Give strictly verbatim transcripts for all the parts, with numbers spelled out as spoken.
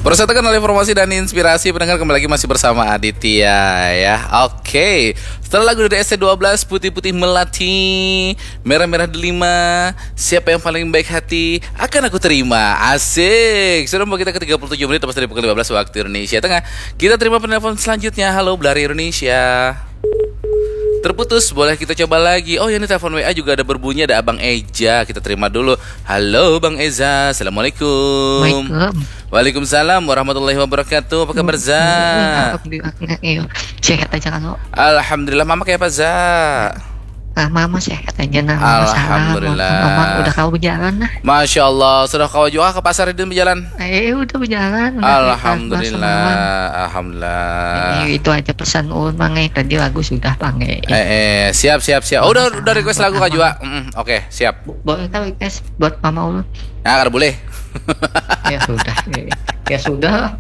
Persatukan oleh informasi dan inspirasi, pendengar, kembali lagi masih bersama Aditya, ya. Oke, setelah lagu dari S T dua belas, Putih-Putih Melati, Merah-Merah Delima, Siapa Yang Paling Baik Hati, Akan Aku Terima. Asik. Sudah membawa kita ke tiga puluh tujuh menit, tepat dari pukul lima belas waktu Indonesia Tengah. Kita terima penelpon selanjutnya. Halo, Blari Indonesia. Terputus, boleh kita coba lagi. Oh, ini telepon W A juga ada berbunyi, ada Abang Eja. Kita terima dulu. Halo, Bang Eza. Assalamualaikum. Waalaikumsalam. Waalaikumsalam warahmatullahi wabarakatuh. Apa kabar, Za? Alhamdulillah. Iya. Sehat aja kan, Wak? Alhamdulillah. Mama kayak apa, Za? Ah, mama sehat aja, nah. Mama salam. Alhamdulillah. Mama udah kau berjalan, nah. Masya Allah, sudah kau juga ke pasar itu berjalan? Eh, udah berjalan. Udah keluar semalam. Alhamdulillah. Alhamdulillah. Eh, itu aja pesan ulun, Mang, eh. Tadi lagu sudah, Bang, eh. Eh, eh, siap, siap, siap. Oh, udah, Mama udah request salam lagu, buat Kak Jua. Mama. Mm, oke, siap. Bo-, boleh kan request buat Mama ulun? Nah, kada boleh. Ya sudah. Eh, ya sudah lah.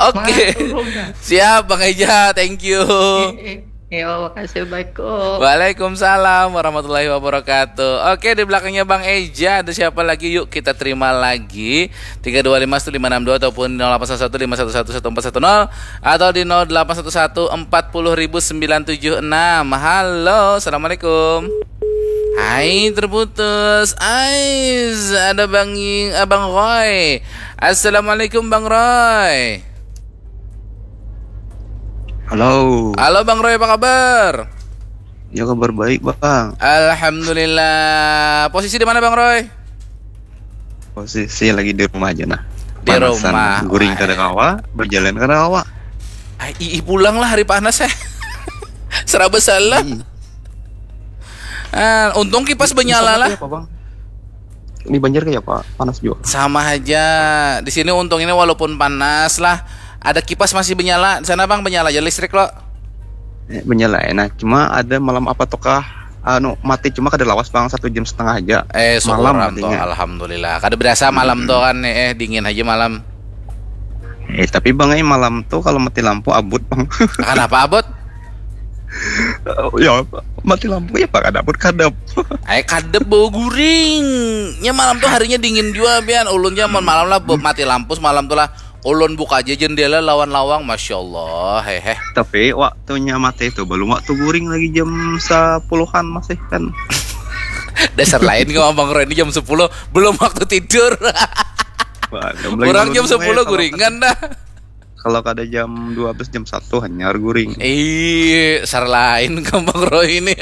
Oke. Matur ulun, dah. Siap, Bang Eja. Thank you. Eh, eh. Ya, makasih. Assalamualaikum. Waalaikumsalam warahmatullahi wabarakatuh. Oke, di belakangnya Bang Eja ada siapa lagi? Yuk, kita terima lagi. Tiga dua lima satu lima enam dua ataupun nol delapan satu satu lima satu satu satu empat satu nol atau di nol delapan satu satu empat puluh ribu sembilan tujuh enam. Halo, assalamualaikum. Hai, terputus. Ais, ada Bang Ing-, Abang Roy. Assalamualaikum, Bang Roy. Halo. Halo, Bang Roy, apa kabar? Ya, kabar baik, Bang. Alhamdulillah. Posisi di mana, Bang Roy? Posisi lagi di rumah aja, nah. Di rumah. Guring kada kawa, berjalan kada kawa. Ai, ih, pulang lah, hari panas, eh. Seraba salah. Ih, Ah, untung kipas di benyala sana lah. Kayak apa, Bang? Di Banjar kayak apa? Panas juga. Sama aja. Di sini untung ini walaupun panas lah, ada kipas masih benyala. Di sana, Bang, benyala aja listrik lo. Eh, benyala, eh. Nah, cuma ada malam apa tuh kah? Anu, mati cuma kada lawas, Bang, satu jam setengah aja. Eh, syukur Malam am tuh, matinya. Alhamdulillah. Kada berasa malam tuh kan, eh, dingin aja malam. Eh, tapi, Bang, eh, malam tuh kalau mati lampu abut, Bang. Kenapa abut? Ya, mati lampu ya, Pak, kada abut kadap. Eh, kadep bau guring. Nya malam tuh harinya dingin juga, pian. Ulun nya mun malam lah, bu-, mati lampu semalam tuh lah. Ulun buka aja jendela lawan lawang, masya Allah, hehe. Tapi waktunya mati itu belum waktu guring lagi, jam sepuluhan masih kan. Dasar lain kau, Abang Roy, ini jam sepuluh, belum waktu tidur. Wah, belum lagi Orang belum jam mulai. sepuluh Kalau guringan dah. Kalau kada jam dua belas, jam satu hanyar guring. Ih, dasar lain kau, Abang Roy ini.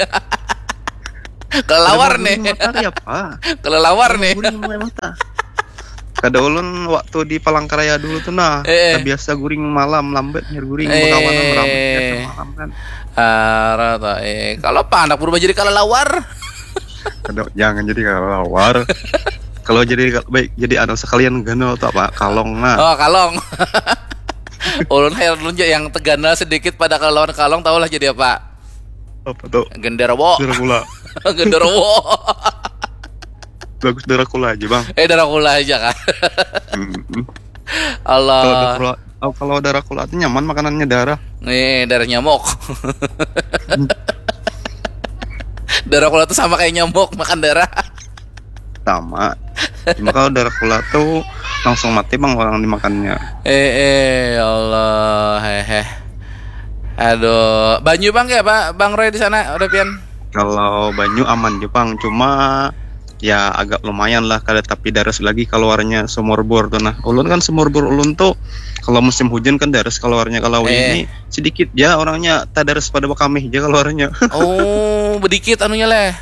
Kelelawar Kada nih. guring mata ya, Pak. Kelelawar nih. Guring mulai mata. Kada, ulun waktu di Palangkaraya dulu tuh, nah, Eh, eh. Kada biasa guring malam, lambat hanyar guring, Eh. bekawanan ramai malam kan. Ah, rata, eh. Kalau apa anak berubah jadi kelelawar? Kada, jangan jadi kelelawar. Kalau jadi, baik, jadi anu sekalian ganal tuh apa? Kalong, nah. Oh, kalong. Ulun heran ulun ja yang teganal sedikit pada kelelawar, kalong, tahulah jadi apa? Apa tuh? Genderuwo. Dracula. Genderuwo. Bagus Dracula aja, Bang. Eh, Dracula aja kan. Mm-mm. Kalau Allah. Dracula, oh, kalau Dracula tuh nyaman makanannya darah. Nih, darah nyamuk. Dracula tuh sama kayak nyamuk, makan darah. Sama. Cuma kalau Dracula tuh langsung mati, Bang, orang dimakannya. Eh, eh, ya Allah, hehe. Aduh, banyu, Bang, ya, Pak, Bang Roy di sana, udah pian? Kalau banyu aman, Jepang, cuma ya agak lumayan lah, kada tapi daras lagi keluarnya sumur bor tuh. Nah, ulun kan sumur bor ulun tuh kalau musim hujan kan daras keluarnya, kalau Eh. ini sedikit ya orangnya, tak daras pada bekamih aja keluarnya. Oh, bedikit anunya leh.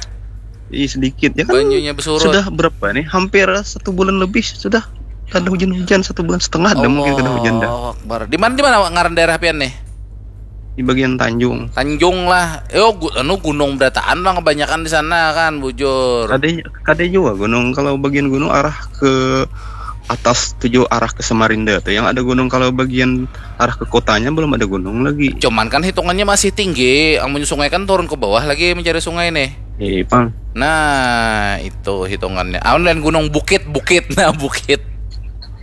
Ih, sedikit ya kan. Banyunya besurut. Sudah berapa nih? Hampir satu bulan lebih sudah kada hujan-hujan, satu bulan setengah ada mungkin kada hujan dah. Allahu Akbar. Di mana, di mana ngaran daerah pian nih? Di bagian Tanjung. Tanjung lah. Yo, gu- anu, gunung berataan lah kebanyakan di sana kan, bujur. Ada, ada juga gunung, kalau bagian gunung arah ke atas tujuh arah ke Samarinda tuh yang ada gunung. Kalau bagian arah ke kotanya belum ada gunung lagi. Cuman kan hitungannya masih tinggi. Amun sungai kan turun ke bawah lagi mencari sungai nih. Iya, Pang. Nah, itu hitungannya. Amun dan gunung, bukit, bukit. Nah, bukit.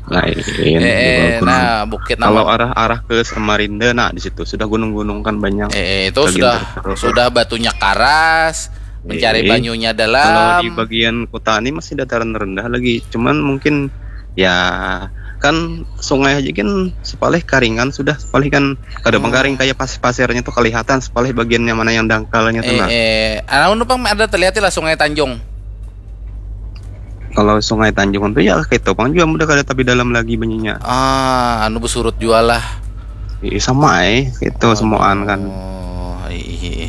Lain. Eh, eh, Gunung. nah, bukit Kalau nama. Arah-arah ke Samarinda, nah, di situ sudah gunung-gunung kan banyak. Eh, eh, itu Bagian sudah terpencil. Sudah batunya karas, mencari Eh, banyunya Kalau di dalam. Bagian kota ini masih dataran rendah lagi. Cuman mungkin ya kan sungai aja kan sepalih karingan sudah, sepalih kan kada pang karing, kayak pasir-pasirnya tuh kelihatan sepalih bagiannya mana yang dangkalnya tuh. Eh, eh, anu pang ada terlihat lah Sungai Tanjung. Kalau Sungai Tanjung tuh ya kayak itu pang juga udah kada tapi dalam lagi banyunya. Ah, anu bersurut juga lah. Iya sama eh, itu semuaan kan. Oh, iya.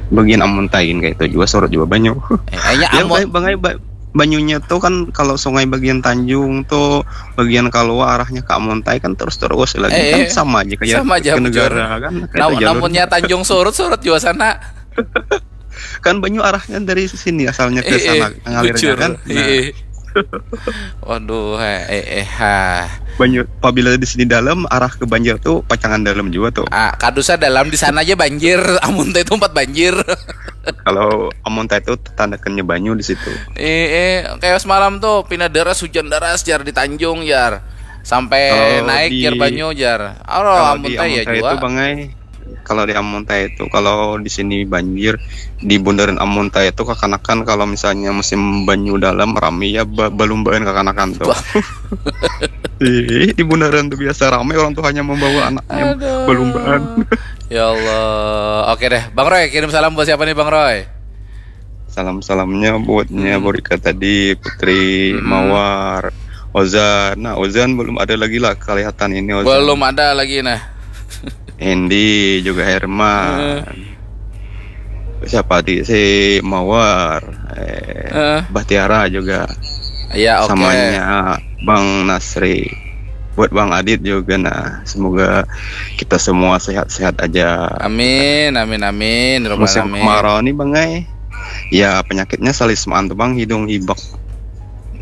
Bagian Amuntai kayak itu juga surut juga banyu. Eh, kayaknya Ya, amun bang, bang, ba- banyunya tuh kan kalau sungai bagian Tanjung tuh bagian keluar arahnya ke Amuntai kan terus-terus lagi Eh, kan eh. Sama aja kayak Sama aja, ke bujur. Negara kan kayak Nah, itu jalur. Namunnya Tanjung surut, surut juga sana. Kan banyu arahnya dari sini asalnya ke Eh, eh, sana ngalirnya bujur. kan. Nah, Eh, eh. Waduh, eh, eh, eh, ha. Banyu apabila di sini dalam arah ke Banjar tuh pacangan dalam juga tuh. Ah, kadusa dalam di sana aja banjir, Amuntai itu tempat banjir. Kalau Amuntai itu tandakannya banyu di situ. Eh, eh, kayak semalam tuh pina deras, hujan deras jar di Tanjung jar. Sampai Kalau naik di- jar banyu jar. Aro Kalau di Amuntai ya Amuntai juga. Itu bangai. Kalau di Amuntai itu kalau di sini banjir di bundaran Amuntai itu kakanakan kalau misalnya musim banyu dalam rame ya ba- balumbaan kakanakan tuh. Wah. Ih, di bundaran tuh biasa rame orang tuanya membawa anaknya Aduh. Balumbaan. Ya Allah. Oke deh, Bang Roy, kirim salam buat siapa nih Bang Roy? Salam-salamnya buatnya Hmm. Borika tadi, Putri, Hmm. Mawar, Ozan. Nah, Ozan belum ada lagi lah kelihatan ini Ozan. Belum ada lagi nah. Hendy juga Herman. Siapa di si Mawar, eh, Heeh. Bahtiara juga. Ya, oke. Samanya Bang Nasri. Buat Bang Adit juga nah. Semoga kita semua sehat-sehat aja. Amin, amin, amin. Robbal Musim amin. Kemarau nih Bang ai. Ya penyakitnya salismaan tuh Bang, hidung hibak.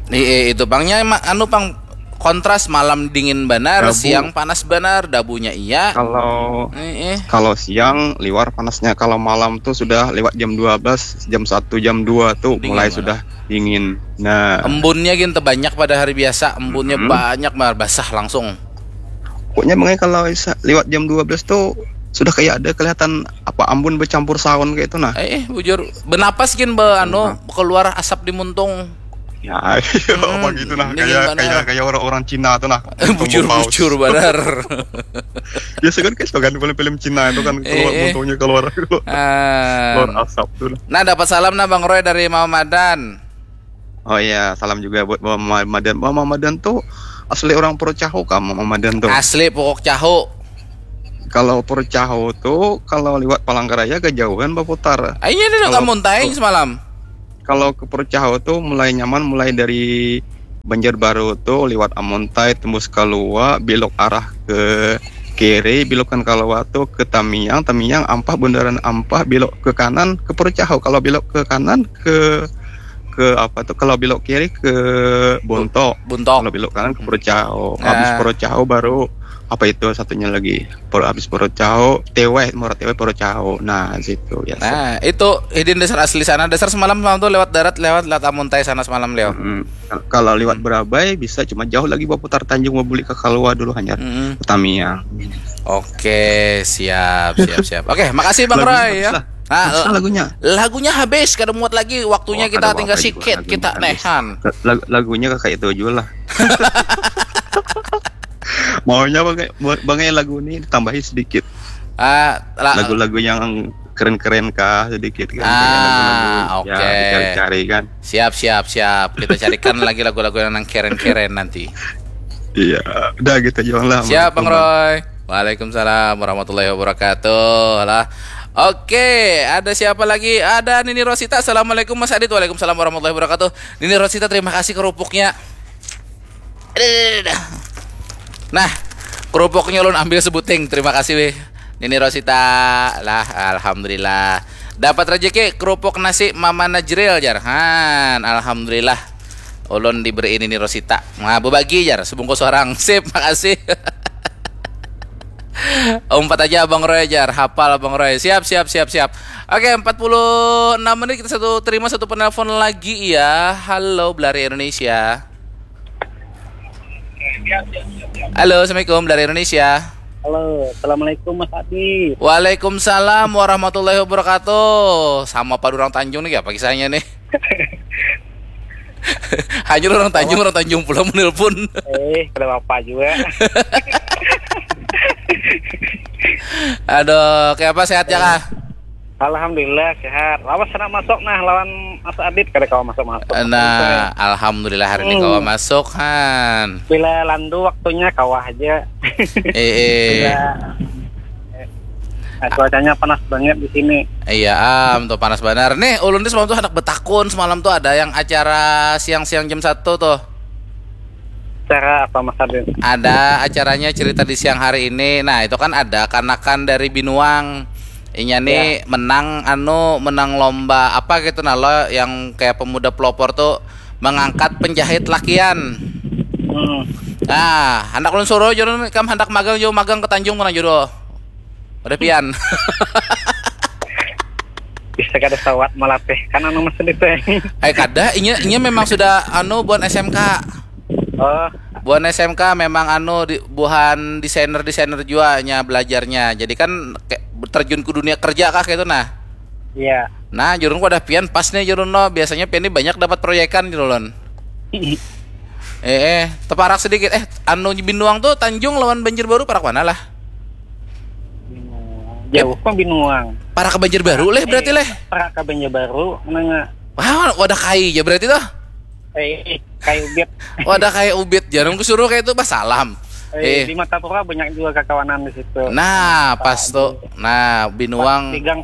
Iya, itu Bangnya emang anu Bang kontras, malam dingin banar, Dabu. Siang panas banar, dabunya iya. Kalau Eh, eh. Kalau siang liwar panasnya, kalau malam tuh sudah lewat jam dua belas, jam satu, jam dua tuh Dingin mulai mana? Sudah dingin. Nah, Embunnya gin banyak pada hari biasa, embunnya Mhm. banyak banget, basah langsung. Pokoknya Bang ai kalau sa- lewat jam dua belas tuh sudah kayak ada kelihatan apa ambun bercampur saun kayak itu nah. Eh, eh, bujur. Benapas gin be anu keluar asap di muntung. Ya, apa gitu nah, Dingin kayak banar. Kayak kayak orang-orang Cina tuh nah. Bujur, Paus. Bujur banar. Biasa kan kayak suka kan film-film Cina itu kan keluar Eh, eh. Muntungnya keluar Ah. Keluar asap tuh nah. Nah, dapat salam nah Bang Roy dari Mama Madan. Oh iya, salam juga buat Mama Madan. Mama Madan tuh asli orang Purwocaho kah, Mama Madan tuh. Asli pokok caho. Kalau Purwocaho tuh kalau lewat Palangkaraya kejauhan baputar. Ah, iya dah Kalau- kamu taing semalam. Kalau ke Purwocaho tuh mulai nyaman mulai dari Banjarbaru tuh lewat Amuntai tembus Kalua, belok arah ke kiri, belokan Kalua tuh ke Tamiang, Tamiang Ampah, bundaran Ampah, belok ke kanan ke Purwocaho. Kalau belok ke kanan ke ke apa tuh? Kalau belok kiri ke Bontok. Bontok. Kalau belok kanan ke Purwocaho. Nah. Habis Purwocaho baru apa itu satunya lagi? Pur habis Purwocaho, Teweh, Muara Teweh Purwocaho. Nah, situ biasa. Nah, itu hidin dasar asli sana. Dasar semalam semalam tuh lewat darat, lewat lewat Amuntai sana semalam, Leo. Mm-mm. Kalau lewat Berabai bisa cuma jauh lagi baputar Tanjung mau beli ke Kalua dulu hanya Mm-mm. ke Tamiang. Oke, siap, siap, siap. Oke, makasih Bang Lagunya Roy habis ya. lah. Ah, Lagunya habis, kada muat lagi. Waktunya Oh, kita kada tinggal apa-apa sikit, juga, lagunya kita habis. Nehan. Lagu, lagunya kakak itu aja lah. Maunya bang, bang lagi lagu ini ditambahi sedikit. Ah, la- Lagu-lagu yang keren-keren kah sedikit kan. Ah, Kayak lagu-lagu, oke. Ya, dicari-cari kan. Siap, siap, siap. Kita carikan lagi lagu-lagu yang keren-keren nanti. Iya, udah gitu aja lah. Siap, Bang Assalamualaikum, Bang. Roy. Waalaikumsalam warahmatullahi wabarakatuh. Lah. Oke, ada siapa lagi? Ada Nini Rosita. Assalamualaikum Mas Adit. Waalaikumsalam warahmatullahi wabarakatuh. Nini Rosita, terima kasih kerupuknya. Nah, kerupuknya ulun ambil sebuting. Terima kasih weh. Nini Rosita. Lah, alhamdulillah. Dapat rezeki kerupuk nasi Mama Najril, jar. Han, alhamdulillah. Ulun diberi Nini Rosita. Nah, berbagi, jar, sebungkus orang. Sip, makasih. Umpat aja Abang Roy, jar. Hafal Abang Roy. Siap, siap, siap, siap. Oke, empat puluh enam menit, kita satu terima satu penelpon lagi ya. Halo, Belari Indonesia. Halo, assalamualaikum, Belari Indonesia. Halo, assalamualaikum Mas Adi. Waalaikumsalam warahmatullahi wabarakatuh. Sama padu urang Tanjung nih, apa kisahnya nih? Hanyar orang Tanjung, orang Tanjung pulang menelpon. Eh, kada apa juga. Aduh, kayak apa, sehat ya kah? Alhamdulillah sehat. Lawas sana masuk nah lawan Mas Adit, kada kawa masuk-masuk. Nah, alhamdulillah hari ini kawa masuk, Han. Bila landu waktunya kawa aja. Eh, eh. Nah, cuacanya panas banget di sini. Iya, am, tuh panas benar. Nih, ulun tuh semalam tuh hendak betakun, semalam tuh ada yang acara siang-siang jam satu tuh. Acara apa, Mas Adit? Ada acaranya cerita di siang hari ini. Nah, itu kan ada kanakan dari Binuang. Inya nih menang anu, menang lomba apa gitu nah lo, yang kayak pemuda pelopor tuh mengangkat penjahit lakian. Hmm. Nah, hendak ulun suruh jurun, kam hendak magang jauh, magang ke Tanjung mana judul. Udah pian. Bisa kada sawat malatih kan anu mesin itu. Eh, kada, inya inya memang sudah anu buan S M K. Oh. Buan S M K memang anu di, buhan desainer-desainer jua nya belajarnya. Jadi kan kayak terjun ke dunia kerja kah gitu nah. Iya. Nah, jurun wadah pian pas nih jurun no. Biasanya pian ini banyak dapat proyekan gitu lon. Eh, eh, teparak sedikit. Eh, anu Binuang tuh Tanjung lawan Banjarbaru parak mana lah? Jauh kok Binuang. Parak ke Banjarbaru leh berarti leh. Parak ke Banjarbaru menengah. Wah, wadah kai ya berarti tuh. Eh, kai ubit. Wadah kai ubit. Jarang kusuruh kayak itu bah salam. Eh, eh. Di Matapura banyak juga kakawanan di situ. Nah, pas tuh. Nah, Binuang. Pegang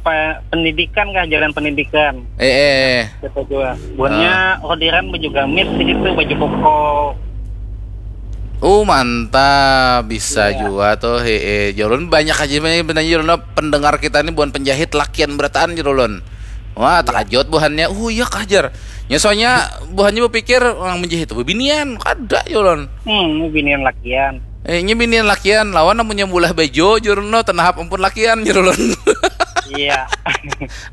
pendidikan kah, jalan pendidikan. Eh, eh. Kita juga. Buahnya ah. Orderan baju gamis di situ, baju koko. Oh, mantap, bisa ya. Juga tuh. He, eh, jolon banyak aja nih benarnya jolon pendengar kita nih bukan penjahit lakian berataan jolon. Wah, ya. Takajut buhannya. Oh iya kah jar. Ya soalnya buhannya berpikir orang menjahit bebinian, kada jolon. Hmm, bebinian lakian. Eh, ini binian lakian lawan namanya mulah bejo jurno tanahap ampun lakian jurulun. Iya.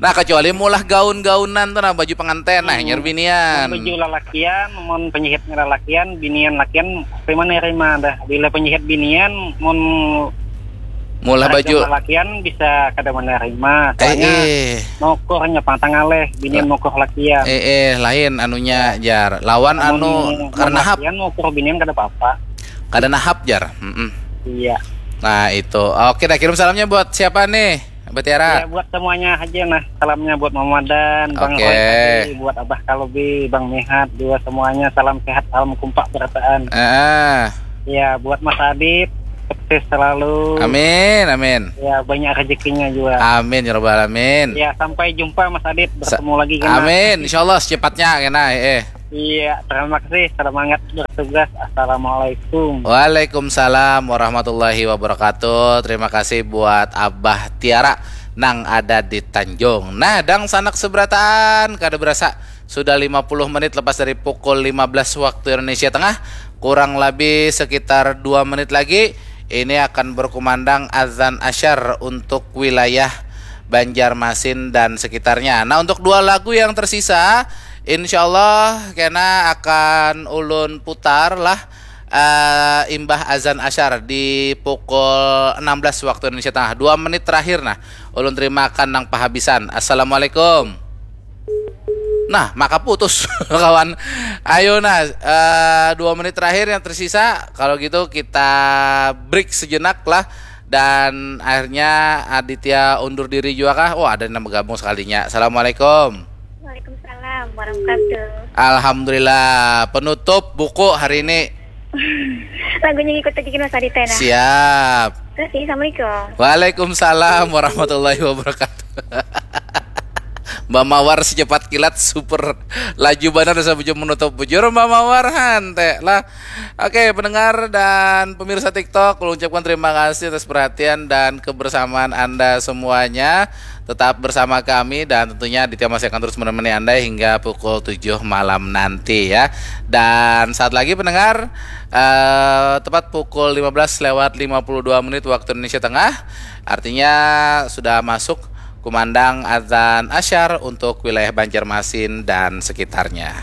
Nah, kecuali mulah gaun-gaunan tuh nah baju pengantin nah hmm. Nyar binian. Baju lalakian, mon penyihit lalakian, binian lakian terima nerima dah. Bila penyihit binian, mon mulah baju lalakian bisa kada menerima. Soalnya eh, eh. Mokornya pantang aleh, binian mokor lakian. Eh eh, lain anunya ya. Jar. Lawan anu karena hap. Lakian mokur binian kada apa-apa. Kada nahap jar. Mm-mm. Iya. Nah itu. Oke dah kirim salamnya buat siapa nih? Mbak Tiara. Ya, buat semuanya aja nah. Salamnya buat Mama Dan, Bang okay. Roy tadi, buat Abah Kalbi, Bang Mihat, juga semuanya salam sehat, salam kompak berataan. Ah. Ya, buat Mas Adit, sukses selalu. Amin, amin. Ya, banyak rezekinya juga. Amin ya rabbal alamin. Ya, sampai jumpa Mas Adit, bertemu Sa- lagi kena. Amin, insyaallah secepatnya kena. Eh. Iya, terima kasih. Semangat bertugas. Assalamualaikum. Waalaikumsalam warahmatullahi wabarakatuh. Terima kasih buat Abah Tiara nang ada di Tanjung. Nah, dang sanak seberataan, kada berasa sudah lima puluh menit lepas dari pukul lima belas waktu Indonesia Tengah. Kurang lebih sekitar dua menit lagi ini akan berkumandang azan asyar untuk wilayah Banjarmasin dan sekitarnya. Nah, untuk dua lagu yang tersisa, insyaallah kena akan ulun putar lah uh, imbah azan asyar di pukul enam belas waktu Indonesia Tengah. Dua menit terakhir nah, ulun terimakan nang pahabisan. Assalamualaikum. Nah, maka putus kawan. Ayo nah, uh, dua menit terakhir yang tersisa. Kalau gitu kita break sejenak lah. Dan akhirnya Aditya undur diri juga kah? Oh, ada yang bergabung sekalinya. Assalamualaikum. Waalaikumsalam warahmatullahi wabarakatuh. Alhamdulillah, penutup buku hari ini. Lagunya ngikut aja kita Mas Aditya nah. Siap. Terima kasih, assalamualaikum. Waalaikumsalam warahmatullahi wabarakatuh. Mbak Mawar secepat kilat super laju banget asa bujur menutup bujur Mbak Mawar hante lah. Oke, pendengar dan pemirsa TikTok, ulun ucapkan terima kasih atas perhatian dan kebersamaan Anda semuanya. Tetap bersama kami dan tentunya Aditya masih akan terus menemani Anda hingga pukul tujuh malam nanti ya. Dan saat lagi pendengar, eh, tepat pukul lima belas lewat lima puluh dua menit waktu Indonesia Tengah. Artinya sudah masuk kumandang azan asyar untuk wilayah Banjarmasin dan sekitarnya.